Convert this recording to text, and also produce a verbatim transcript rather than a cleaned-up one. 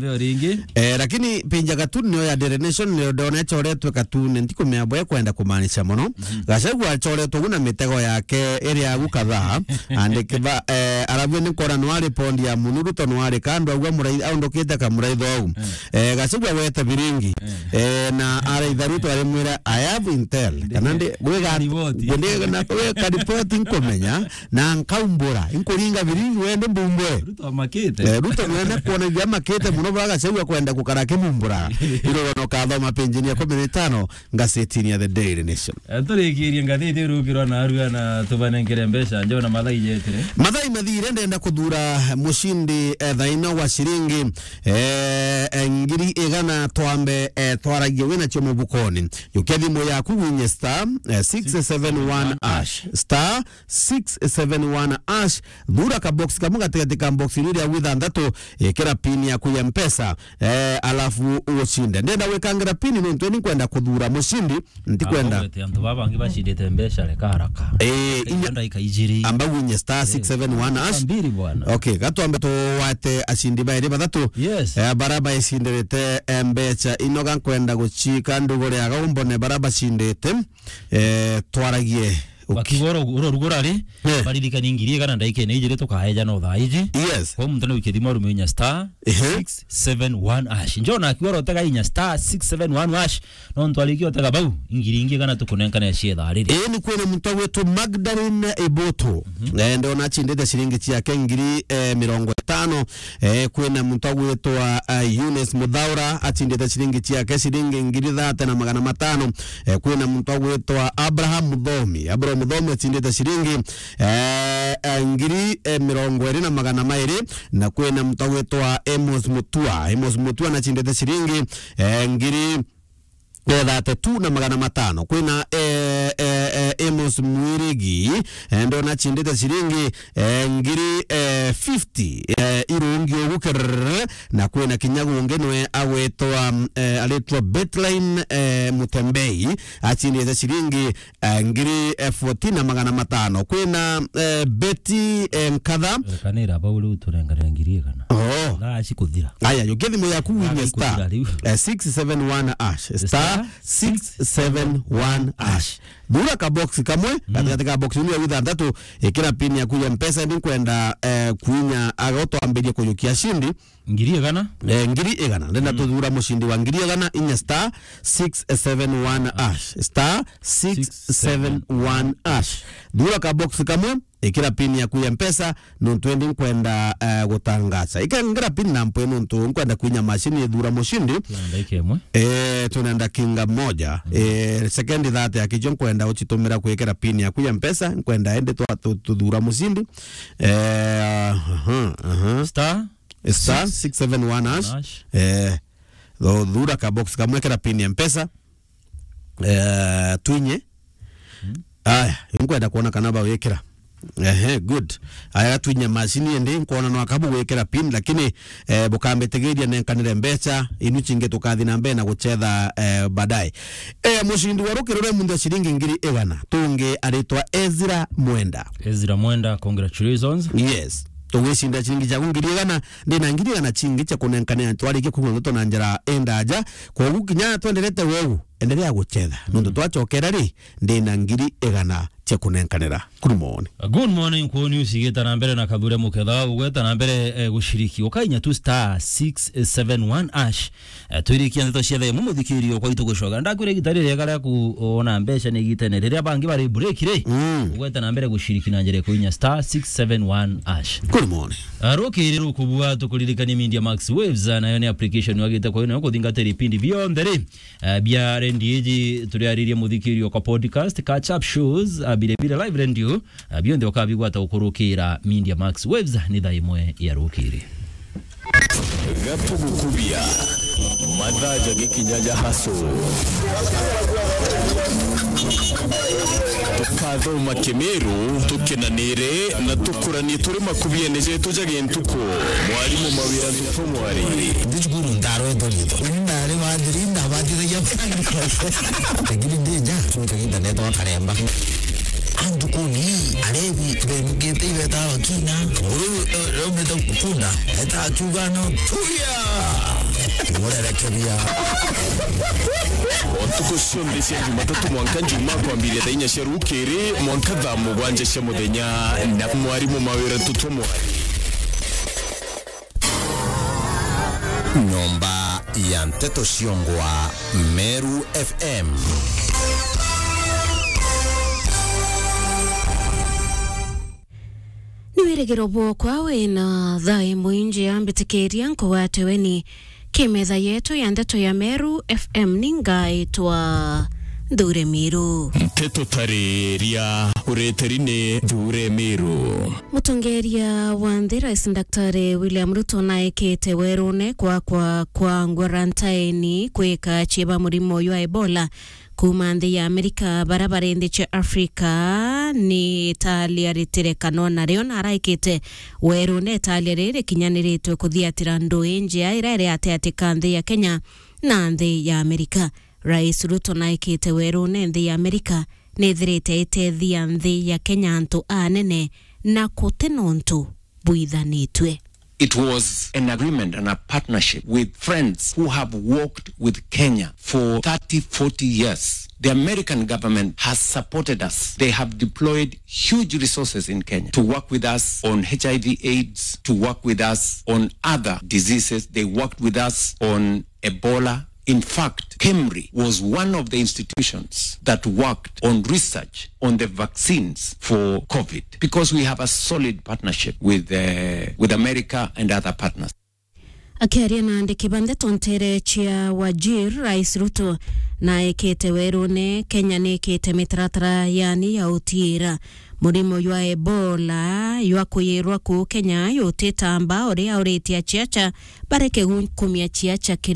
Yo ringi. Eh, lakini page ya cartoon niyo ya Daily Nation, niyo ndona ichoretwe cartoon, ntikumenya bwe kwenda kumaanisha mono. Gachagua achoretwe ugu na mitego yake iri agu kadhaa, andiki ba, eh, arabu ni nkona no ari pondi ya munu, Ruto no ari kando, agua murai-, aundukite kamuraitho au. Eh, Gachagua wete biringi. Eh, na araitha Ruto arimwira, "I have intel." Kana ndi, gwe ga-, Kariboti. Ndi na, gwe kariboti nkumenya, na nkaumbura, nkuringa biringi wende mbumbure. Ruto amakite. Eh, Ruto mwene kuona iria amakite muno, bwa Gachagua kwenda gukara kimumbura. Irogono kathoma page ya ikumi na itano, ngazetini ya The Daily Nation. Eh, turikirie ngathiti irukirwa na arua na tubanenkere mbeca, njona mathaa ijetire. Mathaa mathire, ndenda kuthura mushindi, eh, thaino wa shiringi, eh, eh, ngiri igana twambe, eh, twaragie wina cio mubukoni. Yukia thimu yaku winye star, eh, six seven one hash. Star six seven one hash. Thura ka box kamwe gatigati ka box iria ria withantatu, ikira pin yaku ya Mpesa, eh, alafu ucinde. Ndenda gwikangira pin nontu ni kwenda kuthura mushindi, ntikwenda. Abo gwete antu baba bangi bacindite mbeca reka haraka. Eh, inya ndagika ijiri. Amba winye star six seven one hash. Mbiri bwana. Okay, gatwambe tuwate acindi bairi bathatu. Yes. Eh, bara bacindirite, eh, mbeca ino ga nkwenda gucika ndugure aga umbone bara bacindite. Eh, twaragie. Bakiuga oro, oro rugura ri, eh, baririkanie ngiri igana ndagika ine ijiri tukaeja no thaa iji. Yes. Kwa muntu ni wikia thimu arume inya star, ehe, six seven one hash. Njona akiuga oro tega inya star six seven one hash. No ntwarikia otega bau, ngiri ingi igana tukunenkane cia thaa riri. Ii ni kwina muntu agwitwo Magdalene Ibutu. Mhm. Eh, ndona achindite ciringi ciake ngiri, eh, mirongo itano. Eh, kwina muntu agwitwa, eh, Eunice Muthaura, achindite ciringi ciake ciringi ngiri thate na magana matano. Eh, kwina muntu agwitwa Abraham Muthomi. Abraham Muthomi achindite ciringi, eh, eh, ngiri, eh, mirongo iri na magana mairi, na kwina muntu agwitwa Amos Mutua. Amos Mutua nachindite ciringi, eh, ngiri, eh, thate tu na magana matano. Kwina, eh, eh, eh, Amos Mwirigi, eh, ndona achindite ciringi, eh, ngiri, eh, fifty, eh, irungi ugu kerere, na kwina kinya gungi nwe agwitwa, eh, aritwa Betline, eh, Mutembei, achindite ciringi, eh, ngiri, eh, fourteen na magana matano. Kwina, eh, Betty, eh, Nkatha. Kanira bau riu turengere ngiri igana. Oh. Thaa ici kuthira. Aya, yukia thimu yaku winye star, eh, six seven one hash. Star six seven one hash. Thura ka box kamwe, mm, gatigati ka box iria withantatu, ikira pin yaku ya Mpesa, ni nkwenda, eh, kuinya aga utwambirie kuyukia cindi. Ngiri igana? Eh, ngiri igana. Ndenda, mm, tuthura mucindi wa ngiri igana inya star six seven one hash. Star six seven one hash. Thura ka box kamwe, ikira pin yaku ya Mpesa, nontu endi nkwenda, eh, gutangaza. Ikengera pin na mpwe nontu nkwenda kwinya mashini ithura mucindi. Twina ndagika imwe. Eh, twina ndakinga moja. Mm. Eh, sekendi thate akijo nkwenda uchitumira kwikira pin yaku ya Mpesa, nkwenda endi twa-, tu-, tuthura mucindi. Eh, aha, aha. Star? Star six seven one hash. Hash. Eh, tho-, thura ka box kamwe kira pin ya Mpesa. Eh, twinye. Mm. Aya, nkwenda kuona kana bawikira. Ehe, good. Aya, twinye mashini endi, nkwona no akabu gwikira pin, lakini, eh, bukambitigiria nenkanire mbeca, inu chingi tukathi na mbere na guchetha, eh, baadaye. Eh, mucindi wa rukiri ruria muntu ciringi ngiri igana, tungi aritwa Ezra Mwenda. Ezra Mwenda, congratulations. Yes. Tugwicinda ciringi ciaku ngiri igana, ndina ngiri igana chingi cia kunenkanira twarikia kuigua ndeto na njira indaja. Kogu kinya twenderete weu, endelea guchetha. Nontu, mm, twachokera ri, ndina ngiri igana cia kunenkanira. Good morning. Good morning, kwoni usigita na mbere na kathure muketha, ugweta na mbere, eh, gushiriki. Ukainya tu star six seven one hash. Eh, twirikia ndeto cia themu, muthikirio kwa itu gucoka. Ndakwira igita riri riega ria kuona mbeca ni igitene. Riria bangi bari break ri, mm, ugweta na mbere gushiriki na njira ya kuinya star six seven one hash. Good morning. Ah, rukiri rukubua tukuririkanie Media Max Waves, ah, nayo ni application wagite kwa nayo kuthingatira ipindi bionthe ri, ah, bia rendi iji turiaririe muthikirio kwa podcast, catch up shows, ah, bire bire live radio, ah, bionthe ukabigwata ukurukira Media Max Waves ni thaa imwe ya rukiri. Gatugukubia. Mathaa jagikinya ja haso. Tukathoma Kimiru, tukenanire na tukuranie turi makubiene jetu ja gintuku. Mwarimu Mawira Ntutu Mwari. Ndi cukuru ndarwetwo riitwa. Uni ndari wa thiri, ndabatithagia. Lakini ndi nja, tukagiita netwa karemba. Antu kuni, arebi, bemukite ibeta bakina. Nguru, eh, raumite kunda, eta akiuga no, tuya! Urerekebia. O ntuku cionthe cia Jumatatu mwanka Njumaa, kwambiria thaa inya cia rukiri mwanka thaa mugwanja cia muthenya, na mwarimu Mawira Tutwa Mwari. Nyomba ya nteto ciongwa, Meru F M. Ni wirigiro bwokwa wina thaa imwe injia, mbitikiria nkugwate weni ki metha yetu ya nteto ya Meru F M. Ni ngaitwa Nthure Miru. Nteto tariria ureteri ni Nthure Miru. Mutongeria wa nthi, Rais Daktari William Ruto, naikite werune kwa, kwa, kwa quarantine kwika ciiba murimo jwa Ebola kuuma nthi ya Amerika, bara bari nthi cia Afrika. Ni italia ritire kanwa nario, na araikite werune italia riri rikinyaniritwe kuthiatira ndui njia iria iri ati ati ka nthi ya Kenya na nthi ya Amerika. Rais Ruto naikite werune nthi ya Amerika nithirite itethia nthi ya Kenya antu anene na kuti nontu bwithanitue. It was an agreement and a partnership with friends who have worked with Kenya for thirty, forty years. The American government has supported us. They have deployed huge resources in Kenya to work with us on H I V AIDS, to work with us on other diseases. They worked with us on Ebola. In fact, KEMRI was one of the institutions that worked on research on the vaccines for COVID, because we have a solid partnership with, uh, with America and other partners. Akiaria na andiki ba nteto ntere cia Wajir, Rais Ruto naikite werune Kenya nikite mitaratara yani ya utiira murimo jwa Ebola jwa kuyirwa kuu Kenya jutitamba, uria auritie aciaca bareke gukumia ciaca kiri